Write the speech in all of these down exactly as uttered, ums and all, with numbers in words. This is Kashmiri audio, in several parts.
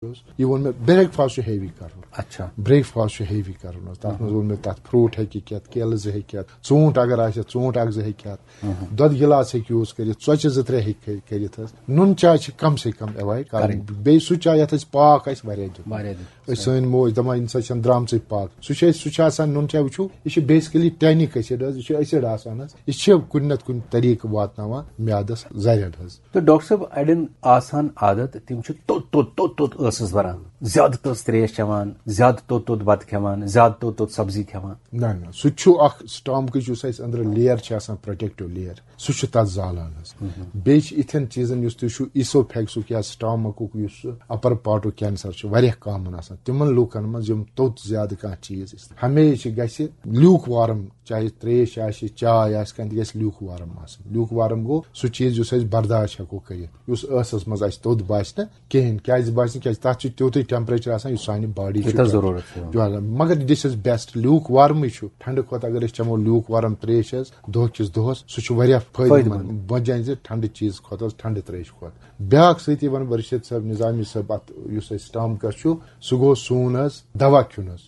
اوس، یہِ ووٚن مےٚ، بریک فاسٹ چھُ ہیوی کرُن۔ اچھا۔ بریک فاسٹ چھُ ہیوی کرُن حظ۔ تَتھ منٛز ووٚن مےٚ، تَتھ فروٗٹ ہیٚکہِ کھٮ۪تھ، کیلہٕ زٕ ہیٚکہِ کھٮ۪تھ، ژوٗنٛٹھ اگر آسہِ، ژوٗنٛٹھ اکھ زٕ ہیٚکہِ کھٮ۪تھ، دۄد گِلاس ہیٚکہِ یوٗز کٔرِتھ، ژۄچہِ زٕ ترٛےٚ ہیٚکہِ کٔرِتھ حظ۔ نُن چاے چھِ کم سے کم ایوایڈ کرٕنۍ۔ کرٕنۍ۔ بیٚیہِ سُہ چاے یَتھ أسۍ پاک آسہِ واریاہ دیُن۔ واریاہ دیُن۔ أسۍ سٲنۍ موج دَپان، ییٚمہِ ساتہٕ چھَنہٕ درٛامژٕے پاک، سُہ چھُ اَسہِ، سُہ چھُ آسان، نُن چاے وٕچھِو، یہِ چھُ بیسِکٔلی ٹینِک ایسِڈ حظ، یہِ چھُ ایسِڈ آسان حظ، یہِ چھِ کُنہِ نَتہٕ کُنہِ طریٖقہٕ واتناوان میادَس زَرٮ۪ر حظ۔ تہٕ ڈاکٹر صٲب، اڑٮ۪ن آسان عادت، تِم چھِ توٚت توٚت توٚت توٚت ٲسَس بَران، زیادٕ تٔژ ترٛیش چٮ۪وان، زیادٕ توٚت توٚت بَتہٕ کھٮ۪وان، زیادٕ توٚت توٚت سبزی کھٮ۪وان۔ نہ نہ، سُہ تہِ چھُ اکھ، سٹامکٕچ یُس اَسہِ أنٛدرٕ لیر چھِ آسان، پروٹیکٹو لیر، سُہ چھُ تَتھ زالان حظ۔ بیٚیہِ چھِ یِتھٮ۪ن چیٖزَن، یُس تُہۍ چھُو ایسوفیگسُک یا سٹامکُک یُس اپر پارٹُک کینسر چھُ، واریاہ کامن آسان تِمن لوٗکن منٛز یِم توٚت زیادٕ کانٛہہ چیٖز استعمال۔ ہمیشہِ گژھِ لیوک وارم، چاہے ترٛیش آسہِ، چاے آسہِ، کانٛہہ تہِ گژھِ لیوک وارم آسٕنۍ۔ لیوک وارم گوٚو سُہ چیٖز یُس أسۍ برداش ہٮ۪کو کٔرِتھ، یُس ٲسَس منٛز اَسہِ توٚت باسہِ نہٕ کِہیٖنۍ۔ کیٛازِ باسہِ نہٕ؟ کیٛازِ تَتھ چھُ تیوٗتُے ٹیمپریچر آسان یُس سانہِ باڈی چھُ یوٗتاہ ضروٗرت چھُ۔ پٮ۪وان۔ مگر this is best، لیوک وارمٕے چھُ۔ ٹھنڈٕ کھۄتہٕ اگر أسۍ چٮ۪مو لیوک وارم ترٛیش حظ دۄہ کِس دۄہس، سُہ چھُ واریاہ فٲیدٕ فٲیدٕ منٛد۔ منٛد۔ وجہ زِ ٹھنڈٕ چیٖز کھۄتہٕ حظ، ٹھنڈٕ ترٛیش کھۄتہٕ۔ بیٛاکھ سۭتی وَنہٕ بہٕ رشید صٲب، نظامی صٲب، اَتھ یُس اَسہِ سٹامکَس چھُ، سُہ گوٚو سون حظ دوا کھیوٚن حظ۔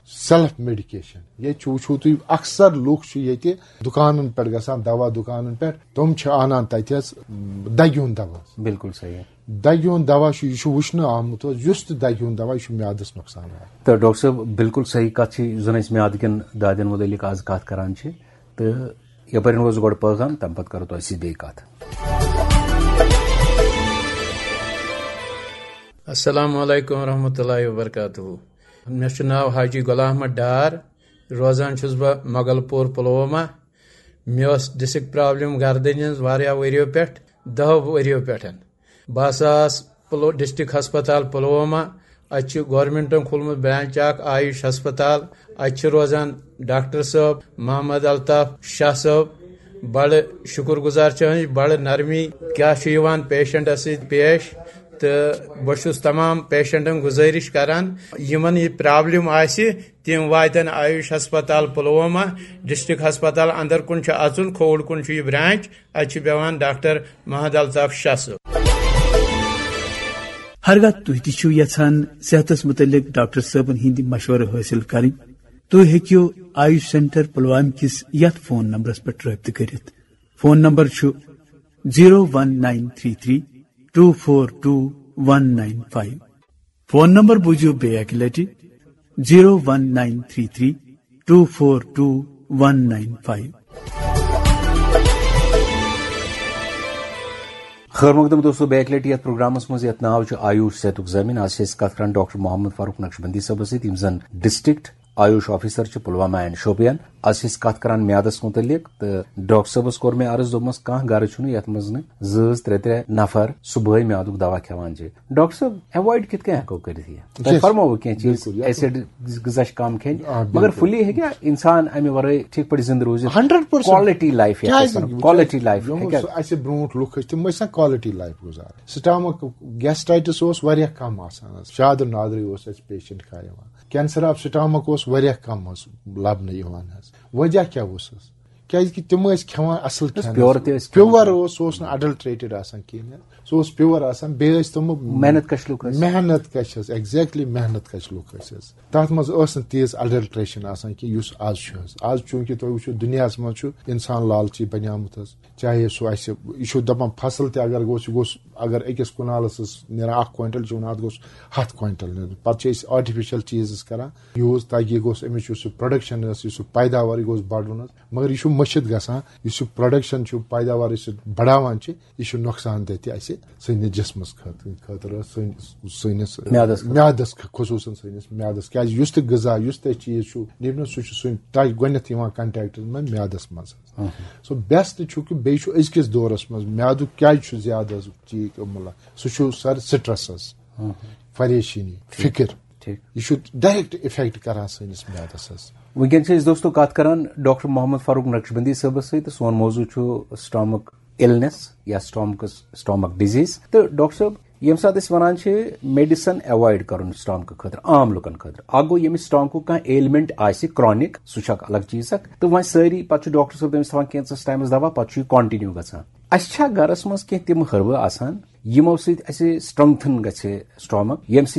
Self medication. ییٚتہِ چھُ، وٕچھِو تُہۍ، اکثر لُکھ چھِ ییٚتہِ دُکانن پٮ۪ٹھ گژھان، دوا دُکانن پٮ۪ٹھ، تِم چھِ انان تتہِ حظ دگہِ ہُنٛد دوا حظ۔ بِلکُل صحیح۔ دگہِ ہُنٛد دوا چھُ، یہِ چھُ وٕچھنہٕ آمُت حظ، یُس تہِ دگہِ ہُنٛد دوا، یہِ چھُ میادس نۄقصان واتان۔ تہٕ ڈاکٹر صٲب، بِلکُل صحیح کتھ چھِ، یُس زن أسۍ میادٕ کٮ۪ن دادٮ۪ن مُتعلق آز کتھ کران چھِ۔ تہٕ یپٲرۍ روزو گۄڈٕ پٲغام، تمہِ پتہٕ کرو تۄہہِ سۭتۍ بیٚیہِ کتھ۔ السلام علیکم ورحمۃ اللہ وبرکاتہ۔ مےٚ چھُ ناو حاجی غلام احمد ڈار، روزان چھُس بہٕ مغل پوٗر پلوامہ۔ مےٚ ٲس ڈسک پرابلم گردنہِ ہٕنٛز واریاہ ؤرِیو پٮ۪ٹھ، دَہو ؤرِیو پٮ۪ٹھ۔ بہٕ ہسا آس پلو-، ڈسٹرکٹ ہسپتال پلوامہ، اتہِ چھُ گورنمنٹن کھولمُت برانچ اکھ آیوش ہسپتال۔ اتہِ چھِ روزان ڈاکٹر صٲب محمد الطاف شاہ صٲب۔ بڑٕ شُکر گزار چھِ أسۍ، بڑٕ نرمی کیٛاہ چھُ یِوان پیشنٹس سۭتۍ پیش۔ تہٕ بہٕ چھُس تمام پیشنٹن گزٲرِش کران، یِمن یہِ پرابلم آسہِ، تِم واتن آیوش ہسپتال پلوامہ۔ ڈسٹرکٹ ہسپتال اندر کُن چھُ اژُن، کھووُر کُن چھُ یہِ برانچ، اتہِ چھُ بیٚہوان ڈاکٹر محمد الطاف شاہ صٲب۔ ہرگاہ تُہۍ تہِ چھِو یژھان صحتس متعلق ڈاکٹر صٲبن ہٕنٛدۍ مشورٕ حٲصِل کرٕنۍ، تُہۍ ہیٚکِو آیوش سینٹر پلوامہ کِس یتھ فون نمبرس پٮ۪ٹھ رٲبطہٕ کٔرِتھ۔ فون نمبر چھُ zero one nine three three two four two one nine five. Phone number بوٗزِو بیٚیہِ اکہِ لٹہِ، zero one nine three three two four two one nine five. خٲر مقدم دوستو، بیٚیہِ اکہِ لٹہِ یتھ پروگرامس منٛز یتھ ناو چھُ آیوش صحتُک ضٲمِن۔ آز چھِ أسۍ کتھ کران ڈاکٹر محمد فاروق نقشبندی صٲبس سۭتۍ، یِم زن ڈسٹرکٹ آیوش آفیسر چھِ پلوامہ اینڈ شوپیان۔ آز چھِ أسۍ کتھ کران میادس متعلق، تہٕ ڈاکٹر صٲبس کوٚر مےٚ عرض، دوٚپمس، کانٛہہ گرٕ چھُنہٕ یتھ منٛز نہٕ زٕ زٕ ترٛےٚ ترٛےٚ نفر صبحٲے میادُک دوا کھٮ۪وان چھِ۔ ڈاکٹر صٲب، ایوایڈ کِتھ کٔنۍ ہٮ۪کو کٔرِتھ یہِ؟ تۄہہِ Yes۔ فرماوو کینٛہہ چیٖز، بِلکُل، یتھ ایسڈ غذا چھِ کم کھٮ۪نۍ، آ، مگر بِلکُل۔ فُلی ہیٚکیا انسان امہِ ورٲے ٹھیٖک پٲٹھۍ زندٕ روٗزِتھ؟ Hundred percent. کالٹی لایف یتھ أسۍ ونو، کالٹی لایف یِم ہیٚکیا؟ اسہِ برونٛٹھ لُکھ ٲسۍ، تِم ٲسۍ آسان کالٹی لایف گُزاران۔ سٹامک گیسٹرائٹس اوس واریاہ کم آسان حظ۔ شادر نادری اوس اسہِ پیشنٹ کانٛہہ یِوان۔ کینسر آف سٹامک اوس واریاہ کم حظ لبنہٕ یِوان حظ۔ وجہ کیٛاہ اوس حظ؟ کیٛازِ کہِ تِم ٲسۍ کھٮ۪وان اصل کھٮ۪ن حظ۔ پیور تہِ ٲسۍ پیور کھٮ۪وان۔ اوس، سُہ اوس نہٕ اڈلٹریٹڈ آسان کِہیٖنۍ حظ۔ سُہ اوس پیور آسان، بیٚیہِ ٲسۍ تِم محنت کش لُکھ ٲسۍ۔ محنت کش حظ، exactly محنت کش لُکھ ٲسۍ حظ۔ تتھ منٛز ٲس نہٕ تیٖژ اڈلٹریشن آسان کینٛہہ یُس آز چھُ حظ۔ آز چوٗنٛکہِ تُہۍ وٕچھِو دُنیاہس منٛز چھُ انسان لالچی بنیومُت حظ۔ چاہے سُہ آسہِ، یہِ چھُ دپان فصل تہِ اگر گوٚژھ، یہِ گوٚژھ، اگر أکِس کنالس حظ نیران اکھ کوینٹل، چھُ ونان اتھ گوٚژھ ہتھ کوینٹل نیرُن۔ پتہٕ چھِ أسۍ آرٹیفیشل چیٖز حظ کران یوٗز تاکہِ یہِ گوٚژھ، أمِس یُس یہِ پروڈکشن ٲس، یُس یہِ پیداوار، یہِ گوٚژھ بڑُن حظ۔ مگر یہِ چھُ مٔشِتھ گژھان، یُس یہِ پروڈکشن چھُ، پیداوار یُس یہِ بڑاوان چھِ، یہِ چھُ نۄقصان دہ تہِ اسہِ سٲنِس جسمس خٲطرٕ، خٲطرٕ سٲنِس، سٲنِس میادس خٲطرٕ۔ میادس خ-، خصوٗصن سٲنِس میادس۔ کیازِ یُس تہِ غذا، یُس تہِ چیٖز چھُ نیبرِم، سُہ چھُ سٲنۍ ٹچ گۄڈٕنیتھ یِوان کنٹیکٹس منٛز میادس منٛز حظ۔ سو بیسٹ چھُ کہِ بیٚیہِ چھُ أزکِس دورس منٛز میادُک کیازِ چھُ زیادٕ حظ چیٖز مطلب، سُہ چھُ سر سٹرس حظ، پریشٲنی، فکر۔ ٹھیٖک۔ یہِ چھُ ڈائریکٹ افیکٹ کران سٲنِس میادس حظ۔ وٕنکیٚن چھِ أسۍ دوستو کتھ کران ڈاکٹر محمد فاروق نقشبندی صٲبس سۭتۍ، تہٕ سون موضوع چھُ سٹامک النس یا سٹامکس، سٹامک ڈیزیز۔ تہٕ ڈاکٹر صٲب، ییٚمہِ ساتہٕ أسۍ ونان چھِ میڈیسن ایوایڈ کرُن سٹامکہٕ خٲطرٕ، عام لُکن خٲطرٕ، اکھ گوٚو ییٚمِس سٹامکُک کانٛہہ ایلمنٹ آسہِ کرانک، سُہ چھُ اکھ الگ چیٖز اکھ۔ تہٕ وۄنۍ سٲری پتہٕ چھُ ڈاکٹر صٲب تٔمِس تھاوان کینٛژس ٹایمس دوا، پتہٕ چھُ یہِ کنٹِنیو گژھان۔ اسہِ چھا گرس منٛز کینٛہہ تِم ہربہٕ آسان یِمو سۭتۍ اَسہِ strengthen گژھِ stomach، ییٚمہِ سۭتۍ